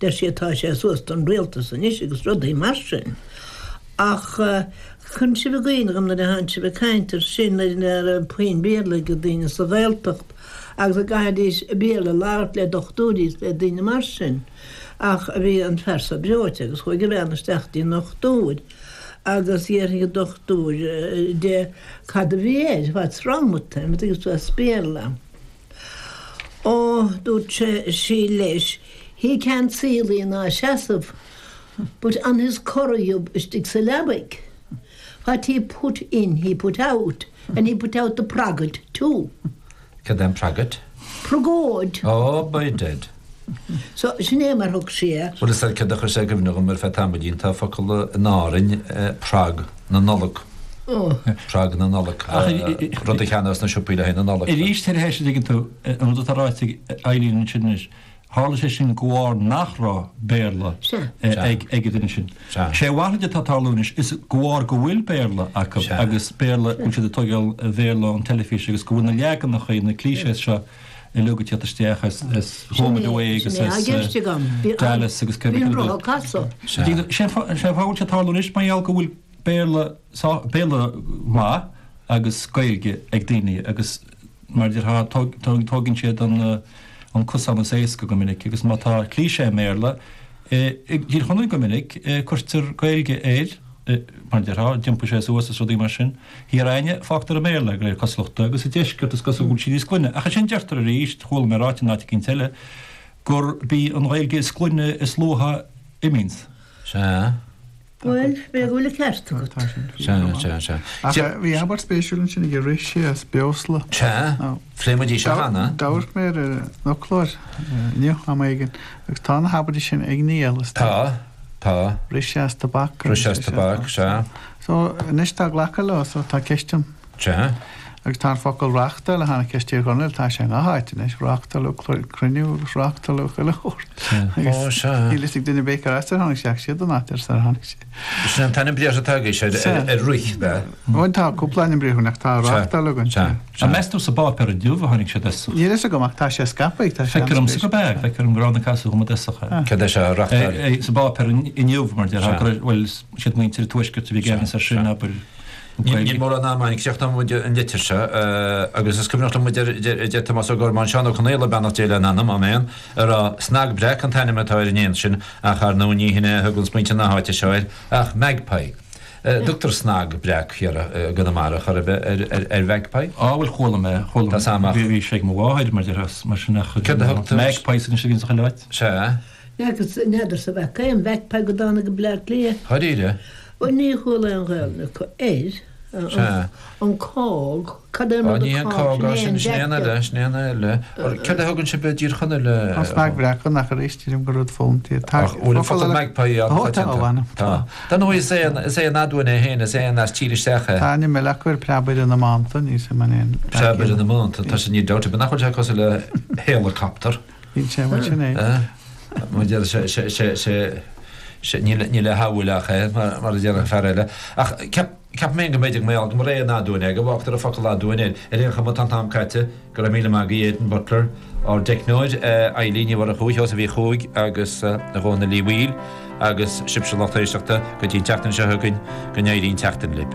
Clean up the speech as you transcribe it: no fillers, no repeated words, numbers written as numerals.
Deir sí tá sé suas don rialtas anois agus rudaí mar sin. Ach cuireann sibh i gcuimhne dhom nuair a thánn sibh ag caint ar sin nuair nach raibh puinn Béarla ag daoine sa Ghaeltacht agus a gcaithfidís Béarla a labhairt le dochtúirí is le daoine mar sin. Ach bhí an fear so breoite agus chuaigh a bhean isteach dtí an ndochtúir agus d'fhiafraigh an dochtúir de cad a bhí air, what's wrong with him, agus as Béarla. Ó, dúirt sí leis, he can't see luí ná seasamh, but on his corraigh istigh sa leabaidh, what he put in he put out, and he put out the pragad too. Cad é an pragad? Pragóid. Oh, by dead. So, sin é mar thug sí é. Bhuel, is ea, céard a chuir sé i gcuimhne dhom ar feadh tamaillín, tá focal in Árainn, prag na Nollag. Prag na Nollag. Rud a cheannófá sna siopaí le haghaidh na Nollag. Arís tar éis, an dtuigeann tú, an rud atá ráite ag Eileen ansin anois, tharla sé sin de bharr nach raibh Béarla ag an duine sin. Sé a mhalrait atá ag tarlú anois is de bharr go bhfuil Béarla acu agus Béarla, go bhfuil siad ag tógáil an Bhéarla ón teilifís agus go bhfuil na leaganacha, na clichés seo uilig ag tíocht isteach as Home and Away agus as Dallas agus cé bith cad é. Sé an fáth a bhfuil sé ag tarlú anois mar gheall go bhfuil Béarla, Béarla maith agus Gaeilge ag daoine agus mar a déarfá tógann siad an cosán is éasca go minic agus má tá cliché i mBéarla, i dTír Chonaill go minic cuirtear Gaeilge air mar a déarfá, d'iompaigh sé suas is rudaí mar sin. Thiar againne fágtar i mBéarla é de réir cosúlachta agus sa deisceart is cosúil go bhfuil sí níos glaine ach ansin deirtear arís, chuala mé ráite in áit eicínt eile, gurb í an Ghaeilge is glaine is luaithe imíonns. Sea. Bhuel, b'fhéidir go bhfuil an ceart agat. Sea, sea, sea. Ach bhí abairt spéisiúil ansin aige, rith sé as breosla. Sea, phléigh muid í seo cheana. D'amharc mé ar an fhoclóir inniu am éigin agus tá na habairtí sin ag Niall is Tá, tá. Rith sé as tobac. Rith sé as tobac, sea. So, anois tá glactha leo, so tá ceist ann. Sea. Agus tá an focal reáchtáil a tháinig as Tír Chonaill, tá sé i ngach áit anois, reáchtáladh cruinniú agus reáchtáladh chuile shórt. Ó, sea. Níl fhios ag duine ar bith cár as ar tháinig sé ach siad an áit ar ar tháinig sé. Sin an t-ainm briathartha atá agaibhse ar ar rith, ab ea? Bhuel, tá cúpla ainm briathartha ach tá reáchtáil againn. Sea, sea. An meas tú sa bpáipéar inniu a tháinig siad as? Níl fhios agam ach tá sé scaipthe, tá sé Feictear domsa gurb ea, feictear dom go raibh na casadh dhom i dtosach é. Cad é seo, reáchtáil? Sa bpáipéar inniu, mar a déarfá, go raibh, bhuel, siad muintir an Tuaiscirt a bhí i gceannas air sin, abair. Níl mórán ama againn, críochnóidh muid an litir seo agus is cuimhneach liom a deir Tomás Ó Gormáin, Seán Ó Conaola, beannacht Dé lena anam, áiméan, a rá, Snag breac an t-ainm atá ar an éan sin ach ar ndóigh ní hin é a thuganns muintir na háite seo air ach magpie. An dtugtar snag breac thiar i gConamara chor ar bith ar mhagpie? Á bhuel chuala mé, chuala Tá sam ach. bhí sé ag mo mháthair mar déarfá, mar sin ach Céard a thugtar? Magpies anois a bhíonn sa chuile áit. Sea. N'fheadarsa an bhfaca aon mhagpie go dtáinig go Bleá Cliath. Dháiríre? Bhuel, ní chuala aon Ghaelainn acu air. Sea. An cág, cad é an Á, rud ní a an cág, cág, á, sin sin, sin é éan an eile, sin éan eile. Céard a thugann sibh i dTír Chonaill a. An snag bhreac, ach arís deirim gur rud fónta é. Tá Ach bhfuil an focal magpie Ó, tá, ó, an-choitianta? anam, Tá. Dar ndóigh, is éan, is éan aduain é féin, is éan as tír isteach é. Tá ainm eile acu air, preabaire na mbánta, níl 's a'm an é an Preabaire na mbánta, tá sé, níl dabht ar bith nach bhfuil sé cosúil le héileacaptar. Níl sé mar sin é. Mar a deir sé, sé, sé, sé, sé, níl, níl le shamhail ach é, mar, mar a déarfadh fear eile. Ach ceap, ceapaim féin go mb'fhéidir go mbeadh, go mba éan aduain é, go bhfágtar an focal aduain air. Ar aon chuma, tá an t-am caite. Go raibh míle maith agaibh, Aidan Butler, ár dteicneoir, Eilín Ní Mhurchú, Sheosaimh Uí Chuaig agus a Dhónaill Uí Bhaoill agus sibhse lucht éisteachta, go dtí an tseachtain seo chugainn, go n-éirí an tseachtain libh.